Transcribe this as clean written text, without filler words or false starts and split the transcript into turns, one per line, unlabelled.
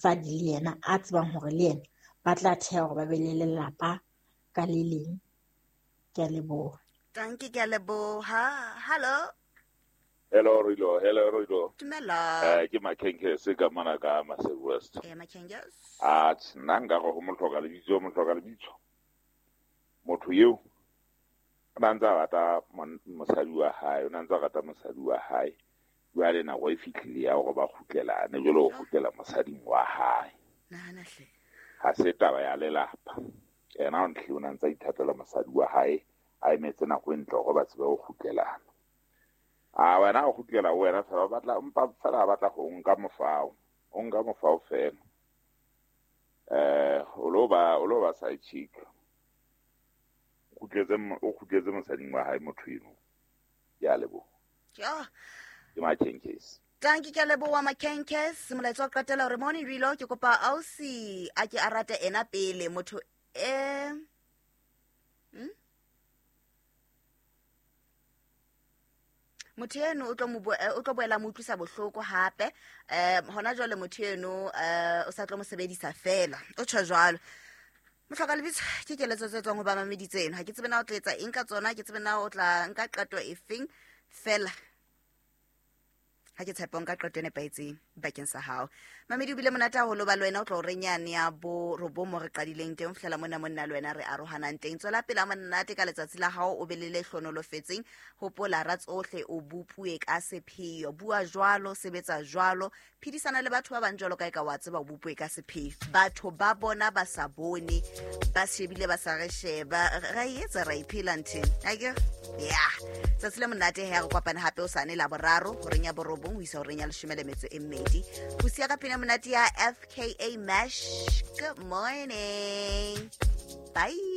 Mosadi le yena a tsebang hore le yena ba tla theha hore ba be le lelapa ka le leng. Ke a leboha.
Tanki, ke a leboha. Hallo.
Hello Rilo, hello Rilo.
Dumela.
Ke Makhenkese ka mona ka Maseru West.
Eh, Makhenkese.
Ah, nna nka re ho mohloka lebitso, mohloka lebitso. Motho eo o na ntse a rata mosadi wa hae, o na ntse a rata mosadi wa hae. Jwale nako e fihlile ya hore ba kgutlelane, jwale o kgutlela mosading wa hae.
Nahana hle.
Ha se taba ya lelapa. Yena o ntlhile o na ntse a ithatela mosadi wa hae, a emetse nako e ntle hore ba tsebe ho kgutlelana. A wena o kgutlela ho wena fela, o batla mpa fela a batla ho nka mofao. O nka mofao fela. O lo ba, o lo ba side chick. O kgutletse, o kgutletse mosading wa hae motho eno. Ke a leboha.
Ja.
Ke Makhenkese.
Tanki, ke a leboha Makhenkese. Molaetsa wa qetela hore morning Rilo, ke kopa ausi a ke a rate ena pele motho e Motho eno o tlo mo o tlo boela mo utlwisa bohloko hape. Hona jwale motho eno o sa tlo mo sebedisa fela. O tjho jwalo. Mohloka lebitso ke keletso tse tswang ho ba mamedi tseno. Ha ke tsebe na o tla etsa eng ka tsona, ke tsebe na o tla nka qeto efeng fela. Ha ke tshepe o nka qeto e nepahetseng bakeng sa hao. Mamedi, o bile monate haholo ba le wena, o tlo re nyane ya bo robong mo re qadileng teng, ho fihlela mona monna le wena re arohanang teng. Tswela pele a monate ka letsatsi la hao, o be le le hlonolofetseng. Hopola ra tsohle o bopuwe ka sepheo. Bua jwalo, sebetsa jwalo, phedisana le batho ba bang jwalo ka e ka wa tseba o bopuwe ka sepheo. Batho ba bona ba sa bone, ba shebile ba sa re sheba, ra e etsa ra iphela nthe. Akere? Ya. Tsatsi le monate he, re kopane hape o sane la boraro horeng ya borobong ho isa horeng ya leshome le metso e mmedi. Ho siya ka pina monate ya FKA Mash. Good morning. Bye.